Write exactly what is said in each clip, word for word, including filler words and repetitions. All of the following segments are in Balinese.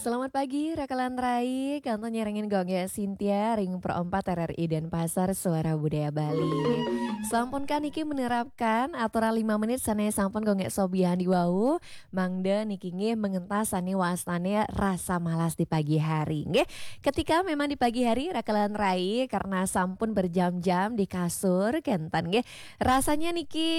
Selamat pagi, Raka lan Rai. Kantun nyarengin Gung Gé Sintia, ring Pro empat R R I Denpasar, Suara Budaya Bali. Sampun kah niki menerapkan aturan lima menit sané sampun Gung Gé sobiahan di wau, mangda niki nggih mengentas sané wastane rasa malas di pagi hari, nggih. Ketika memang di pagi hari, Raka lan Rai, karena sampun berjam-jam di kasur, kenten nggih. Rasanya niki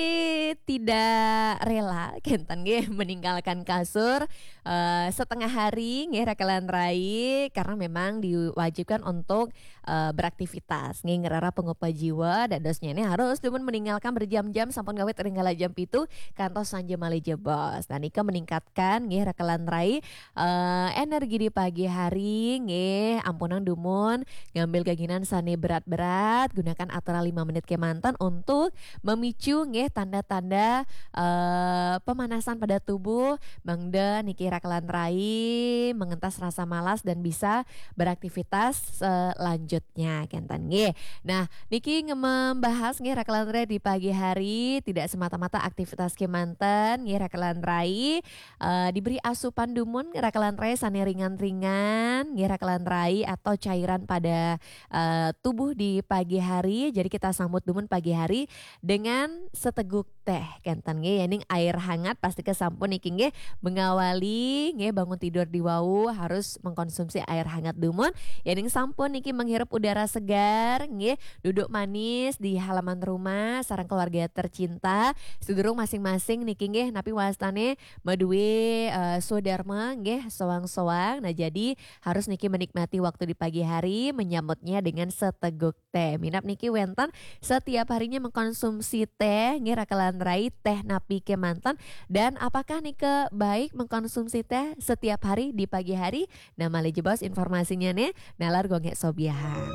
tidak rela, kenten nggih, meninggalkan kasur, eh, setengah hari, nggih, Raka lan Rai, karena memang diwajibkan untuk, eh, beraktivitas, nggih, ngrereh pangupa jiwa, dadosnya ini harus dumun meninggalkan berjam-jam sampun ngawit ring kala jam pitu kantos sanja malih jebos. Nah, nika meningkatkan, nggih, Raka lan Rai, eh, energi di pagi hari, nggih, ampunang dumun ngambil gaginan sané berat-berat, gunakan aturan lima menit kemanten untuk memicu, nggih, tanda-tanda, eh, pemanasan pada tubuh, mangda niki Raka lan Rai mengentas rasa malas dan bisa beraktivitas selanjutnya, kenten nggih. Nah, niki nge-, membahas, nggih, Raka lan Rai, di pagi hari tidak semata-mata aktivitas kemanten, nggih, Raka lan Rai, eh, diberi asupan dumun, Raka lan Rai, sané ringan-ringan, nggih, Raka lan Rai, atau cairan pada, eh, tubuh di pagi hari. Jadi kita sambut dumun pagi hari dengan seteguk teh, kenten nggih, yening air hangat, pasti kesampun niki nggih mengawali, nggih, bangun tidur di wau harus mengkonsumsi air hangat dumun. Yening sampun niki menghirup udara segar, nggih, duduk manis di halaman rumah sareng keluarga tercinta. Sedurung masing-masing niki nggih napi wastane madue, eh, swadarma, nggih, soang-soang. Nah, jadi harus niki menikmati waktu di pagi hari, menyambutnya dengan seteguk teh. Minab niki wenten setiap harinya mengkonsumsi teh, nggih, Raka lan Rai, teh napi kemanten, dan apakah nika baik mengkonsumsi teh setiap hari di pagi hari? Nah, malih jebos informasinya nih, nalar Gung Gé sobiahan.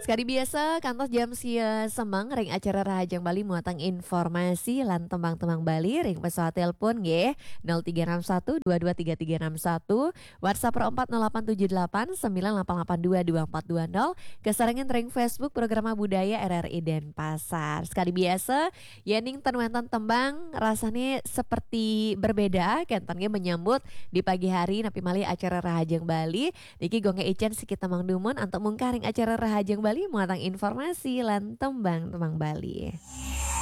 Sekadi biasa, kantos jam sia semeng ring acara Rahajeng Bali muatang informasi lan tembang-tembang Bali ring pesawat telepon nggih, nol tiga enam satu dua dua tiga tiga enam satu, WhatsApp Pro empat nol delapan tujuh delapan sembilan delapan delapan dua dua empat dua nol, kesarengan ring Facebook Programa Budaya R R I Denpasar. Sekadi biasa, yening ten wenten tembang rasane seperti berbeda, kenten nggih menyambut di pagi hari napi malih acara Rahajeng Bali. Niki Gung Gé icen sikit tembang dumun antuk mungkah ring acara Rahajeng Bali muatang informasi lan tembang-tembang Bali.